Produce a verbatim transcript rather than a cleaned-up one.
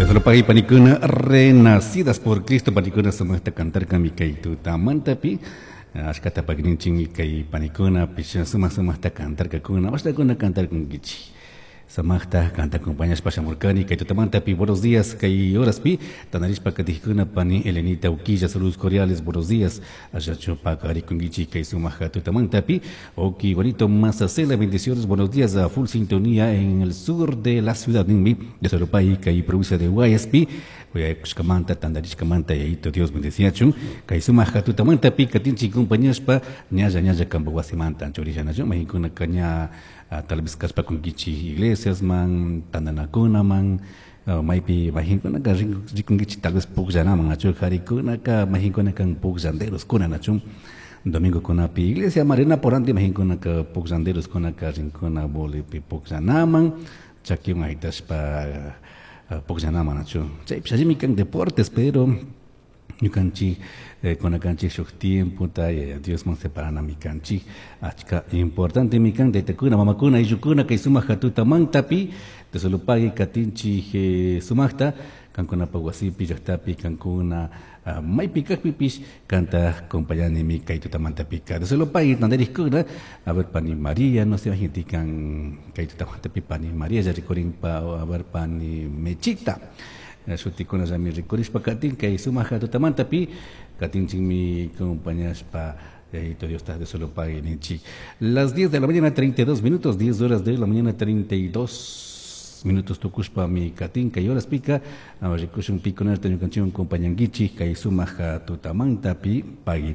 Dios panikuna renacidas por Cristo panikuna sumaqta cantarka kay tutamantapi ashkata pakininchikmi kay panikuna pish sumaq sumaqta cantarkakuna ashtakuna cantarkunkichik Samaqta kanta acompañashpa shamurkani kay tutamantapi buenos días kay horaspi tanarishpa katijkuna pani Elenita Uquilla saludos cordiales buenos días allachu paqarikunkichik kay sumaq tutamantapi ok bonito Mazacela bendiciones buenos días a full sintonía en el sur de la ciudad ninmi de Soropay kay provincia de Guayaspi Uyaykushkamanta tantarishkamanta yayito Dios bendeciachun kay sumaq tutamantapi katinchik compañashpa ñalla ñalla kampa wasimanta anchurillanachu maykunaka ña tal vez kashpakunkichik iglesiasman tantanakunaman maypi mayqinkunaka rikunkichik tal vez pukllanaman achu qharikunaka mayqinkunaka pukllanderoskuna nachu domingokunapi iglesia marina por anti mayqinkunaka pukllanderoskunaka rinkuna bolipi pukllanaman chakiwan haytashpa pukllanaman nachu chaypish allimi kan deportes pero ñukanchik kunakanchik shuk tiempota yaya Diosman separanami kanchik achka importantemi kan taytakuna mamakuna ayllukuna kay sumaq tutamantapi Diosolopague katinchik sumaqta kankunapaq wasipi llaqtapi kankuna maypi kaqpipish kanta acompañanimi kay tutamantapika Diosolopague tantarikuna a ver pani María no sé kan kay tutamantapi pani María rikurinpa a ver pani Mechita shutikuna llami rikurishpa katin kay sumaq tutamantapi katinchikmi acompañashpa Yayito Dios ta Diosolopague ninchik las diez de la mañana treinta y dos minutos, diez horas de la mañana treinta y dos minutos tukushpa mi katin kay horaspika rikushun pikunata ñukanchikwan compañankichik kay sumaq tutamantapi pagui.